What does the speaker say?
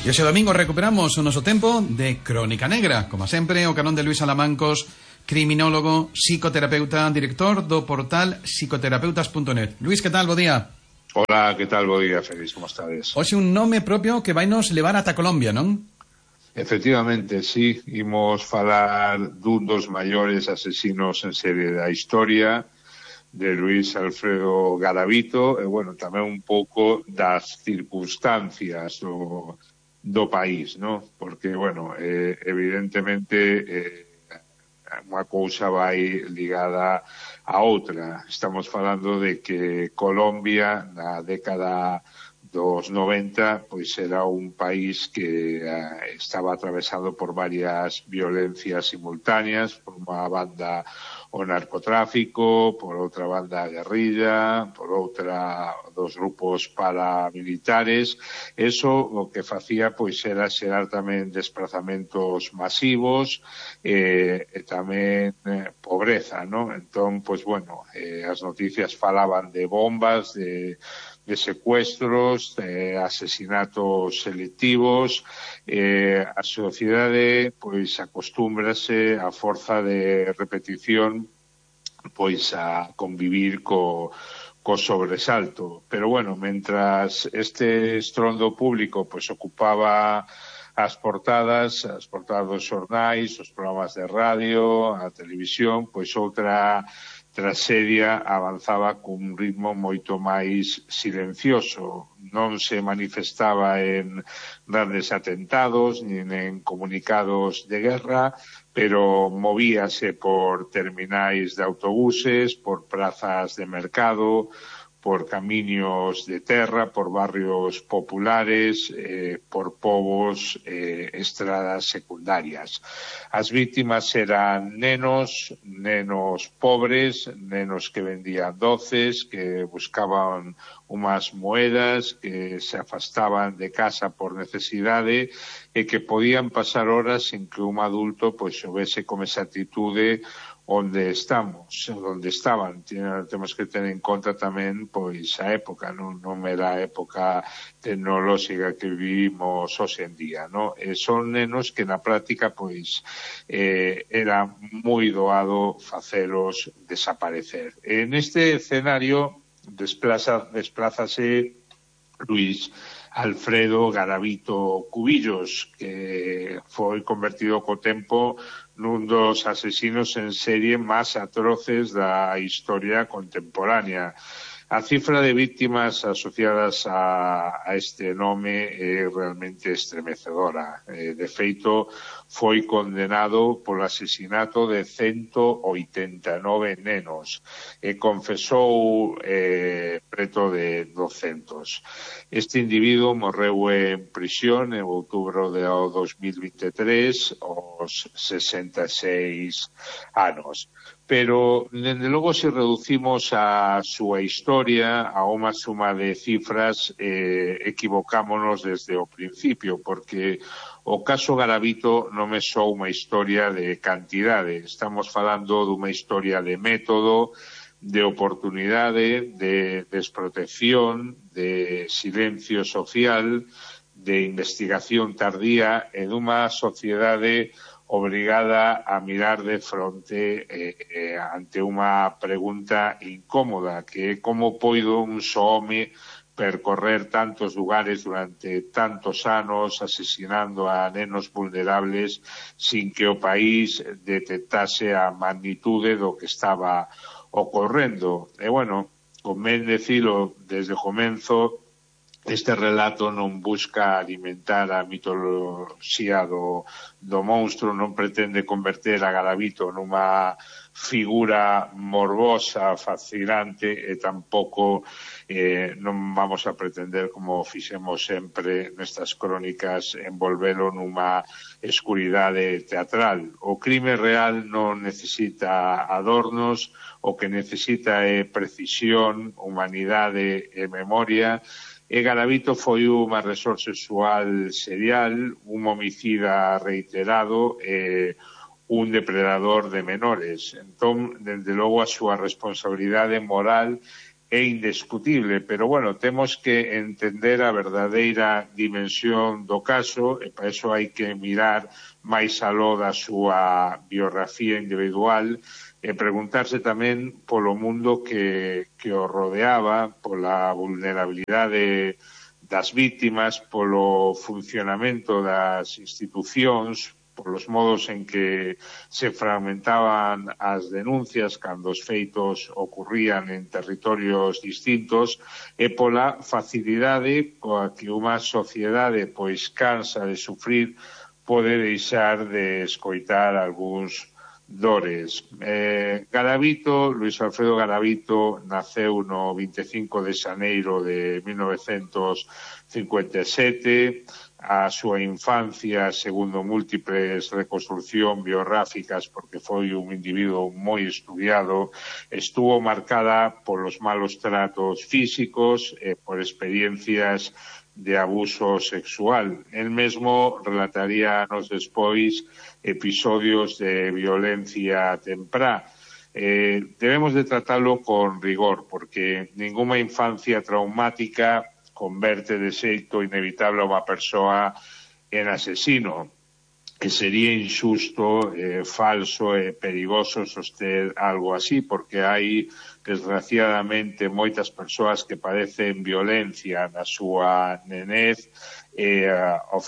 E ese domingo recuperamos o noso tempo de Crónica Negra. Como sempre, o carón de Luís Alamancos, criminólogo, psicoterapeuta, director do portal psicoterapeutas.net. Luís, que tal? Bo día. Hola, que tal? Bo día, Félix, como estades? Hoxe un nome propio que vai nos levar ata Colombia, non? Efectivamente, sí, imos falar dun dos maiores asesinos en serie da historia, de Luis Alfredo Garavito, e, bueno, tamén un pouco das circunstancias do país, ¿no? Porque, bueno, evidentemente unha cousa vai ligada a outra. Estamos falando de que Colombia, na década dos 90, pois era un país que estaba atravesado por varias violencias simultáneas, por unha banda o narcotráfico, por outra banda a guerrilla, por outra dos grupos paramilitares. Eso o que facía pois era xerar tamén desplazamentos masivos e tamén pobreza, ¿no? Entón, pois bueno, as noticias falaban de bombas, de secuestros, de asesinatos selectivos. A sociedade pois acostúmbrase a forza de repetición pois a convivir co sobresalto. Pero bueno, mentras este estrondo público pois ocupaba as portadas dos xornais, os programas de radio, a televisión, pois outra traxedia avanzaba cun ritmo moito máis silencioso. Non se manifestaba en grandes atentados, nin en comunicados de guerra, pero movíase por terminais de autobuses, por prazas de mercado, por camiños de terra, por barrios populares, por povos, estradas secundarias. As vítimas eran nenos pobres, nenos que vendían doces, que buscaban unhas moedas, que se afastaban de casa por necesidade e que podían pasar horas sin que un adulto pois houvese con esa actitude onde estaban. Temos que ter en conta tamén pois a época, non era a época tecnolóxica que vivimos hoxe en día, non? Son nenos que na práctica pois era moi doado facelos desaparecer. En este escenario desplázase Luis Alfredo Garavito Cubillos, que foi convertido co tempo nun dos asesinos en serie máis atroces da historia contemporánea. A cifra de víctimas asociadas a este nome é realmente estremecedora. De feito, foi condenado polo asesinato de 189 nenos e confesou preto de 200. Este individuo morreu en prisión en outubro de 2023 aos 66 anos. Pero, dende logo, se reducimos a súa historia a unha suma de cifras, equivocámonos desde o principio, porque o caso Garavito non é só unha historia de cantidade. Estamos falando dunha historia de método, de oportunidade, de desprotección, de silencio social, de investigación tardía e dunha sociedade obrigada a mirar de fronte ante unha pregunta incómoda, que é como poido un só home percorrer tantos lugares durante tantos anos asesinando a nenos vulnerables sin que o país detectase a magnitude do que estaba ocorrendo. E, bueno, convén decilo desde o comenzo, este relato non busca alimentar a mitoloxía do monstro, non pretende converter a Garavito nunha figura morbosa, fascinante, e tampouco non vamos a pretender, como fixemos sempre nestas crónicas, envolvelo nunha escuridade teatral. O crime real non necesita adornos, o que necesita é precisión, humanidade e memoria. E Garavito foi un agresor sexual serial, un homicida reiterado e un depredador de menores. Entón, dende logo, a súa responsabilidade moral é indiscutible, pero, bueno, temos que entender a verdadeira dimensión do caso e para iso hai que mirar máis aló da súa biografía individual e preguntarse tamén polo mundo que o rodeaba, pola vulnerabilidade das vítimas, polo funcionamento das institucións, polos modos en que se fragmentaban as denuncias cando os feitos ocurrían en territorios distintos e pola facilidade coa que unha sociedade pois cansa de sufrir pode deixar de escoitar algúns dores. Garavito, Luis Alfredo Garavito, naceu no 25 de xaneiro de 1957. A súa infancia, segundo múltiples reconstruccións biográficas, porque foi un individuo moi estudiado, estuvo marcada polos malos tratos físicos e por experiencias de abuso sexual. El mesmo relataría anos despois episodios de violencia temprá. Debemos de tratalo con rigor, porque ninguna infancia traumática converte de xeito inevitable a unha persoa en asesino, que sería injusto, falso e perigoso soster algo así, porque hai, desgraciadamente, moitas persoas que padecen violencia na súa nenez e ao